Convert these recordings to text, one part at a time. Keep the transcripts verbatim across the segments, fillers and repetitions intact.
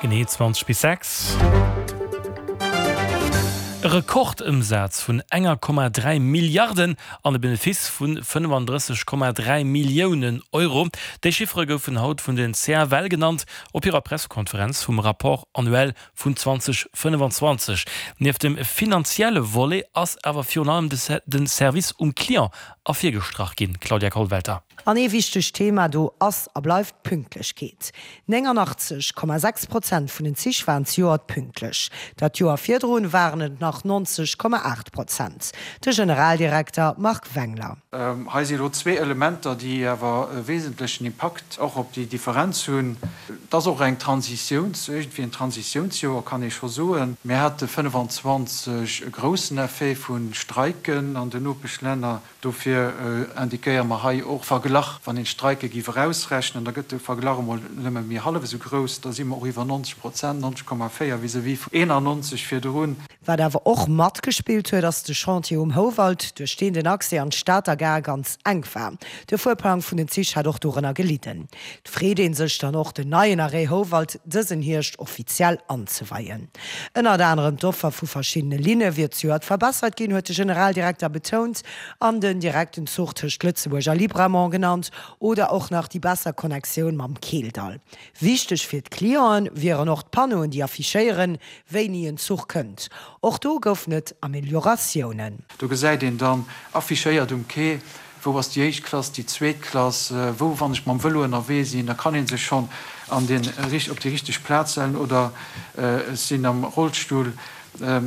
Genee zwanzeg bis sechs. E Rekordëmsaz vun enger Komma dräi Milliarden an e Benefice vu fënnefandrësseg Komma dräi Milliounen Euro, déi Chiffere goufen haut vun den C F L genannt op hirer Pressekonferenz vum Rapport annuel vun zweedausendfënnefanzwanzeg. Nieft dem finanzielle Volet ass awer virun allem de Service um Client ervirgestrach ginn, Claudia Kollwelter. An ee wichtegt Thema do ass a bleift d'Pünktlechkeet. nénganachtzeeg Komma sechs Prozent vun den Zich waren zejoert pünktlech. Dat Joer virdrun waren et nach neunzeg Komma acht Prozent. De Generaldirekter Marc Wengler. Hei si lo zwee Elementer, déi awer e wesentlechen Impakt och op déi Differenz hunn. Et ass och eng Transitiouns, iergendwéi en Transitiounsjoer, kann ee scho soen. Mir hate fënnefenzwanzeg e groussen Effet vu Streiken an den Nopeschlänner. Dofir indiquéiere mer hei och verglach, wann een d'Streike géif erausrechnen, da gëtt de Verglach emol nëmme méi hallef esou grouss, da si mer och iwwer neunzeg Prozent, neunzeg Komma véier vis-à-vis vun eenannonzeg virdrun. Wat awer och matgespillt huet, ass de Chantier um Houwald, duerch deen den Accès an d'Stater Gare ganz enk war. De Fuerplang vun den Zich hat och dorënner gelidden. Et freet ee sech dann och, den neien Arrêt Houwald dësen Hierscht offiziell anzeweien. Ënnert anerem d'Offer vu verschiddene Linne wier zejoert verbessert ginn, huet de Generaldirekter betount an den direkten Zuch tëscht Lëtzebuerg a Libramont genannt oder och nach déi besser Connectioun mam Keeldall. Wichteg fir d'Clienten wieren och d'Panneauen, déi affichéieren, wéini en Zuch kënnt. Och do goufen et Amelioratiounen. Do gesäit een dann affichéiert um Quai, wou ass déi éischt Klass, déi zweet Klass, wou, wann ech mam Vëlo ënnerwee sinn, da kann ee sech schonn an den, op déi richteg Plaz stellen oder ech sinn am Rollstull.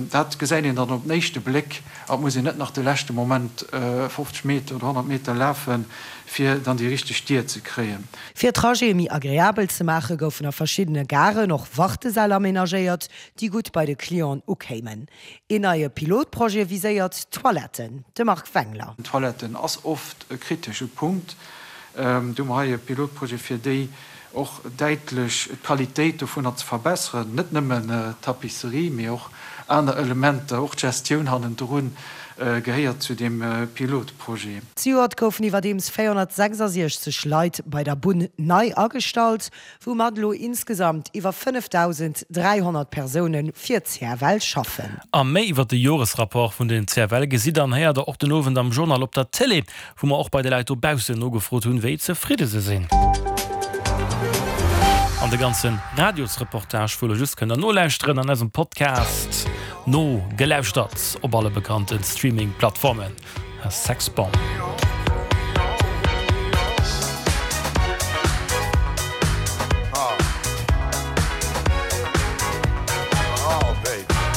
Dat gesäit een dann op den éischte Bléck a et muss een net nach de leschte Moment fofzeg Meter oder honnert Meter lafen, fir dann déi richteg Dier ze kréien. Fir d'Trajete méi agreabel ze maachen, goufen a verschiddene Garen och Wartesäll amenagéiert, déi gutt bei de Clienten ukéimen. Een neie Pilotprojet viséiert d'Toiletten, de Marc Wengler. Toiletten ass oft e kritesche Punkt. Do hu mer hei e Pilotprojet, fir déi och däitlech d'Qualitéit dovunner ze verbesseren, net nëmmen d'Tapisserie, mee och aner Elementer, och d'Gestioun hannendrun gehéiert zu deem Pilotprojet. Zejoert goufen iwwerdeems véierhonnertsechsasiechzeg Leit bei der Bunn nei agestallt, woumat elo insgesamt iwwer fënnefdausend dräihonnert Persoune fir d'C F L schaffen. A méi iwwer de Joresrapport vun den C F L gesitt an héiert der och den Owend am Journal op der Télé, wou mer och bei de Leit dobaussen nogefrot hunn, wéi zefridde se sinn. An de ganze Radiosreportage vu elo just kënnt der nolauschteren an eisem Podcast Nogelauschtert op alle bekannte Streaming-Plattformen. Sex Bomb.